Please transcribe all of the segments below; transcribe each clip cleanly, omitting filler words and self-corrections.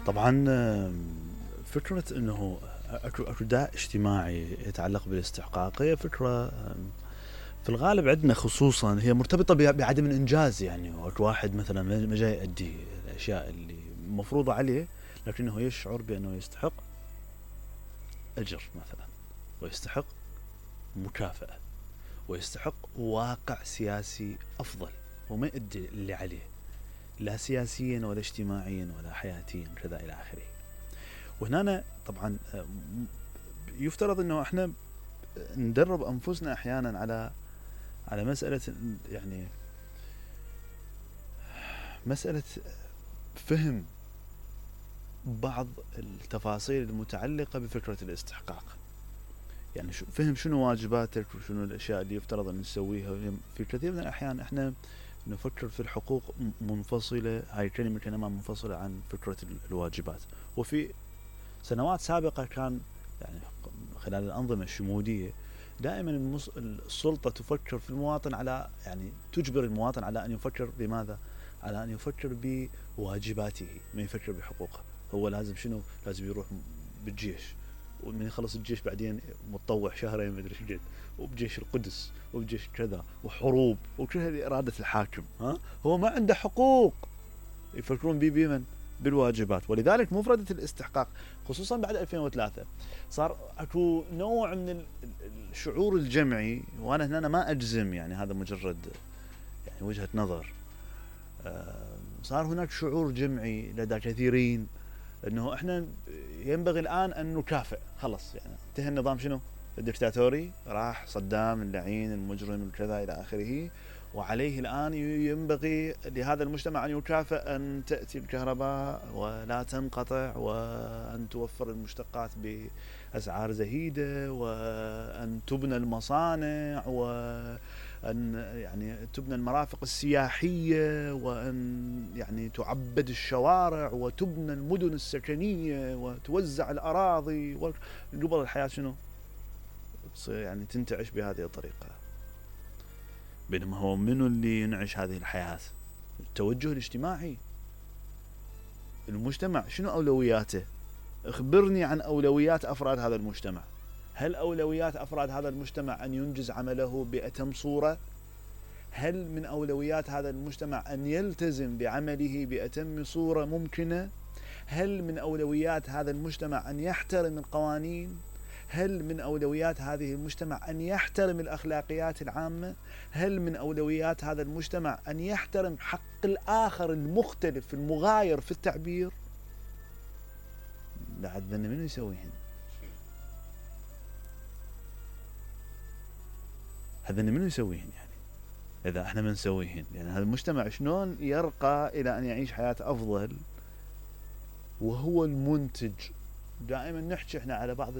طبعا فكرة انه اكو داء اجتماعي يتعلق بالاستحقاق هي فكرة في الغالب عندنا خصوصا هي مرتبطة بعدم الانجاز. يعني اكو واحد مثلا ما جاي يؤدي الاشياء اللي مفروضة عليه، لكنه يشعر بانه يستحق اجر مثلا، ويستحق مكافأة، ويستحق واقع سياسي افضل، وما يؤدي اللي عليه لا سياسيا ولا اجتماعيا ولا حياتيا كذا الى اخره. وهنا طبعا يفترض انه احنا ندرب انفسنا احيانا على مسألة، يعني مسألة فهم بعض التفاصيل المتعلقة بفكرة الاستحقاق. يعني فهم شنو واجباتك وشنو الاشياء اللي يفترض ان نسويها. في كثير من الاحيان احنا نفكر في الحقوق منفصلة، هاي الكلمة كلمة منفصلة عن فكرة الواجبات. وفي سنوات سابقة كان يعني خلال الأنظمة الشمولية دائما السلطة تفكر في المواطن على، يعني تجبر المواطن على أن يفكر بماذا؟ على أن يفكر بواجباته، ما يفكر بحقوقه. هو لازم شنو؟ لازم يروح بالجيش، ومن يخلص الجيش بعدين متطوع شهرين ما ادري ايش، وبجيش القدس وبجيش كذا وحروب وكل هذه إرادة الحاكم. هو ما عنده حقوق. يفكرون بمن؟ بالواجبات. ولذلك مفردة الاستحقاق خصوصا بعد 2003 صار اكو نوع من الشعور الجمعي، وانا هنا ما اجزم، يعني هذا مجرد يعني وجهة نظر. صار هناك شعور جمعي لدى كثيرين انه احنا ينبغي الان ان نكافئ، خلص يعني انتهى النظام شنو؟ الدكتاتوري، راح صدام اللعين المجرم الكذا الى اخره، وعليه الآن ينبغي لهذا المجتمع أن يكافئ أن تأتي الكهرباء ولا تنقطع، وأن توفر المشتقات بأسعار زهيدة، وأن تبنى المصانع، وأن يعني تبنى المرافق السياحية، وأن يعني تعبد الشوارع، وتبنى المدن السكنية، وتوزع الأراضي. قبل الحياة شنو؟ يعني تنتعش بهذه الطريقة. بينما هو منو اللي ينعش هذه الحياة؟ التوجه الاجتماعي. المجتمع شنو أولوياته؟ اخبرني عن أولويات أفراد هذا المجتمع. هل أولويات أفراد هذا المجتمع أن ينجز عمله بأتم صورة؟ هل من أولويات هذا المجتمع أن يلتزم بعمله بأتم صورة ممكنة؟ هل من أولويات هذا المجتمع أن يحترم القوانين؟ هل من أولويات هذه المجتمع أن يحترم الأخلاقيات العامة؟ هل من أولويات هذا المجتمع أن يحترم حق الآخر المختلف المغاير في التعبير؟ بعد ذن منو يسويهن؟ هذا منو يسويهن؟ يعني إذا احنا ما نسويهن، يعني هذا المجتمع شلون يرقى إلى أن يعيش حياة أفضل وهو المنتج؟ دائما نحكي احنا على بعض،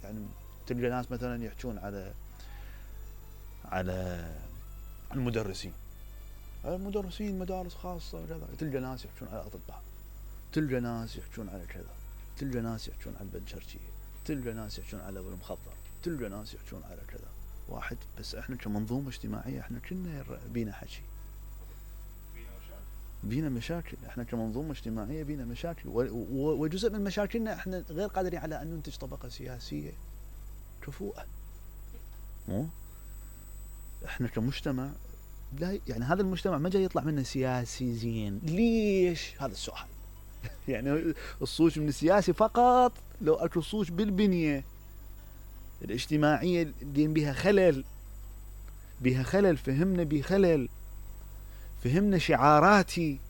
يعني تلقى ناس مثلا يحكون على المدرسين مدارس خاصة وكذا، تلقى ناس يحكون على الأطباء، تلقى ناس يحكون على كذا، تلقى ناس يحكون على البنشرشية، تلقى ناس يحكون على المخدر، تلقى ناس يحكون على كذا. واحد بس احنا كمنظومة اجتماعية احنا كنا بينا حكي، بينا مشاكل. احنا كمنظومة اجتماعية بينا مشاكل، وجزء من مشاكلنا احنا غير قادرين على ان ننتج طبقة سياسية كفؤة. احنا كمجتمع لا، يعني هذا المجتمع ما جاي يطلع منه سياسي زين. ليش؟ هذا السؤال. يعني الصوت من السياسي فقط لو اكو صوت بالبنية الاجتماعية اللي بها خلل، فهمنا بخلل، فهمنا شعاراتي،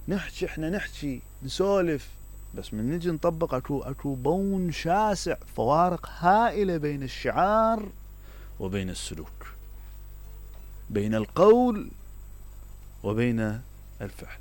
نحكي نسولف، بس من نجي نطبق اكو بون شاسع، فوارق هائلة بين الشعار وبين السلوك، بين القول وبين الفعل.